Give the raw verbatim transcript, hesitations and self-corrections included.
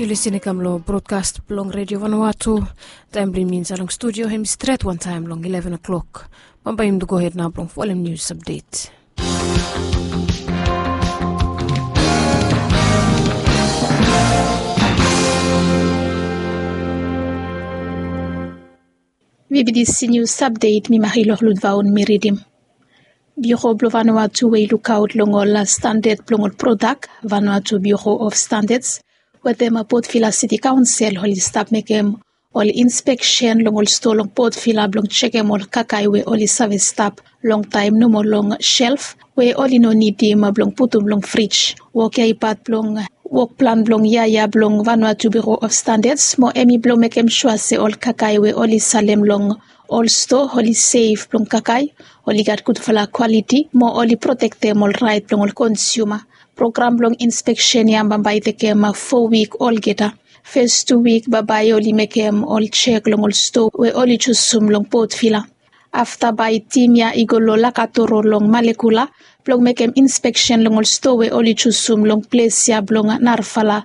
Yu lisin i kam long brodkas blong redio vanua tu. Taem blong yumi insaed long studio hem i stret wantaem long ileven o'klok. Bambae yumi tu gohed nao blong folem nius apdet. Vibidisi nius apdet mi mahi long lutvaon mi ridim. Biuro blong vanua tu we i lukaot long ol standad blong ol prodak vanua tu biuro of standads, wetem potvila siti kaonsel oli stap mekem ol inspeksen long ol stoa long potvila blong jekem ol kakae we oli save stap longtaem nomo long self we oli no nidim blong putum long frij. Wok ya i pat blong wok plan blong yia ya blong vanua tu biuro of standads mo hem i blong mekem sua se ol kakae we oli salem long ol stoa oli sef blong kakae, oli gat gudfala kwaliti mo oli protektem ol raet blong ol konsiuma. Program blong inspeksen ya bambae i tekem fo wik olgeta. Fes tu wik bambae oli mekem ol jek long ol stoa we oli jusum long potvila. Afta bae tim ya i go long lakatoro long malekula blong mekem inspeksen long ol stoa we oli jusum long ples ya blong narafala